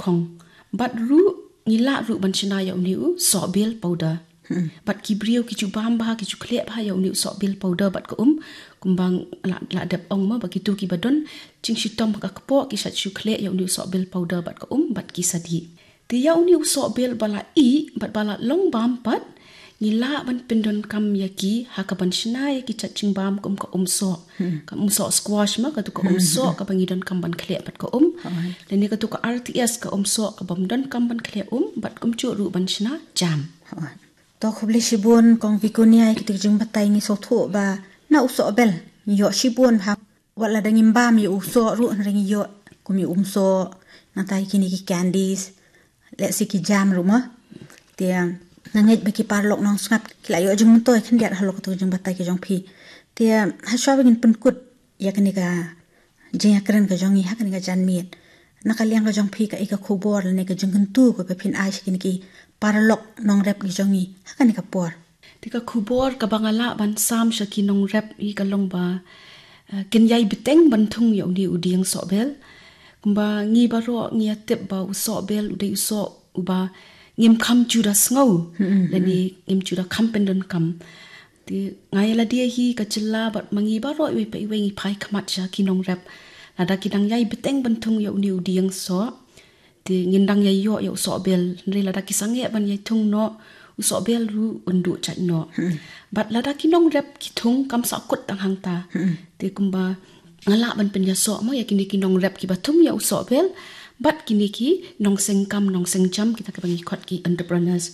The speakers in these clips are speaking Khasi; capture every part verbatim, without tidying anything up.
Khong. Bad ruh ngi lah ruh ban shna ïa uni u sohbel powder. Bad ki briew ki ju bam bha, ki ju khleh bha ïa uni u sohbel powder bad ka um, kumba la, la dep ong mo, ba kitu kiba don jingshitom ha ka kpoh ki shait shu khleh ïa uni u sohbel powder bad ka um bad ki sa dih. Te ïa uni u sohbel ba la ih bad ba la long bam pat, ngi lah ban pyndonkam ïa ki ha ka ban shna ïa ki jait jingbam kum ka um soh. Ka um soh squash mo, katu ka um soh kaba ngi donkam ban khleh bad ka um. Lane katu ka R T S, ka um soh kabym donkam ban khleh um, bad kumjuh ruh ban shna jam. To khublei shibun Kong Vigonia ïa kitu ki jingbatai. Ngi sngewthuh ba na u sohbel ngi ïoh shibun bha. Wat lada ngim bam ïa u soh ruh hynrei ngi ïoh kum ïa um soh, nangta ïa kine ki candies, lehse ki jam ruh mo. Te nga ngeit ba ki paralok nongsngap ki la ïoh jingmyntoi khyndiat halor katu ka jingbatai ka jong phi. Te hashwa ba ngin pynkut ïa kane ka jingïakren ka jong ngi ha kane ka janmiet, na ka liang ka jong phi, kaei ka khubor lane ka jingkyntu kaba phin ai sha kine ki paralok nongrep ki jong ngi ha kane ka por? Te ka khubor kaba nga lah ban sam sha ki nongrep hi ka long ba, eh, kin ïai bteng ban thung ïa uni u dieng sohbel. Kumba ngi baroh ngi ïa tip ba u sohbel u dei u soh uba ngim kham ju da sngew, lane ngim ju da kham pyndonkam. Te nga ïa lade hi ka jylla bad ma ngi baroh iwei pa iwei ngi phai khmat sha ki nongrep. Lada ki dang ïai bteng ban thung ïa uni u dieng soh, te ngin dang ïai ïoh ïa u sohbel, hynrei lada ki sangeh ban ïai thung noh, u sohbel ruh un duh jait noh. Bad lada ki nongrep ki thung, kam sahkut tang hangta. Te kumba nga lah ban pynïasoh mo ïa kine ki nongrep kiba thung ïa u sohbel bad kine ki nongseng kam nongseng jam, kita kiba ngi khot ki entrepreneurs.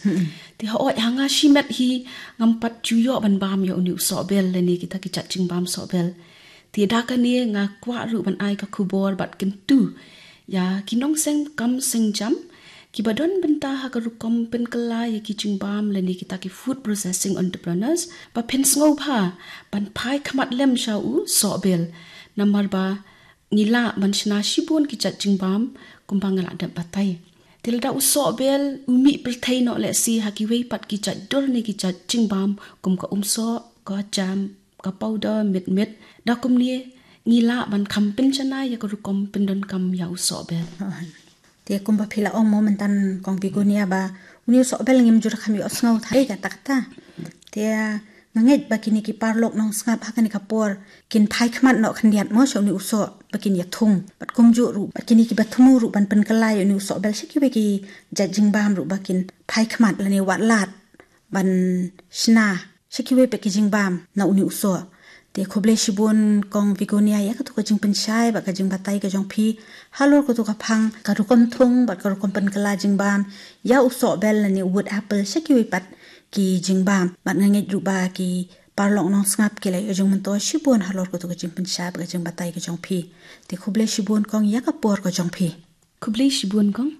Te hooid, ha nga shimet hi ngam pat ju ïoh ban bam ïa uni u sohbel lane kita ki jait jingbam sohbel. Te da kane nga kwah ruh ban ai ka khubor bad kyntu ïa ki nongseng kam seng jam kiba don bynta ha ka rukom pynkylla ïa ki jingbam lane kita ki food processing entrepreneurs, ba phin sngewbha ban phai khmat lem sha u sohbel, namar ba ngi lah ban shna shibun ki jait jingbam kumba nga la dep batai. Te lada u sohbel u mih pyrthei noh lehse ha kiwei pat ki jait dur ne ki jait jingbam kum ka um soh, ka jam, ka powder, mit mit, da kumne ngi lah ban kham pynjanai ïa ka rukom pyndonkam ïa u sohbel. Te kumba phi la ong mo mynta Kong Vigonia ba uni u sohbel ngim ju da kham ïohsngew thei kata kata. Te nga ngeit ba kine ki paralok nongsngap ha kane ka por kin phai khmat noh khyndiat mo sha uni u soh ba kin ïa thung. Bad kumjuh ruh bad kine kiba thmu ruh ban pynkylla ïa uni u sohbel sha kiwei ki jait jingbam ruh ba kin phai khmat lane wad lad ban shna sha kiwei pat ki jingbam na uni u soh. Te khublei shibun Kong Vigonia ïa katu ka jingpynshai bad ka jingbatai ka jong phi halor katu ka phang ka rukom thung bad ka rukom pynkylla jingbam ïa u sohbel lane wood apple sha kiwei pat ki jingbam. Bad nga ngeit ruh ba ki paralok nongsngap ki la ïoh jingmyntoi shibun halor katu ka jingpynshai bad ka jingbatai ka jong phi. Te khublei shibun Kong ïa ka por ka jong phi. Khublei shibun Kong.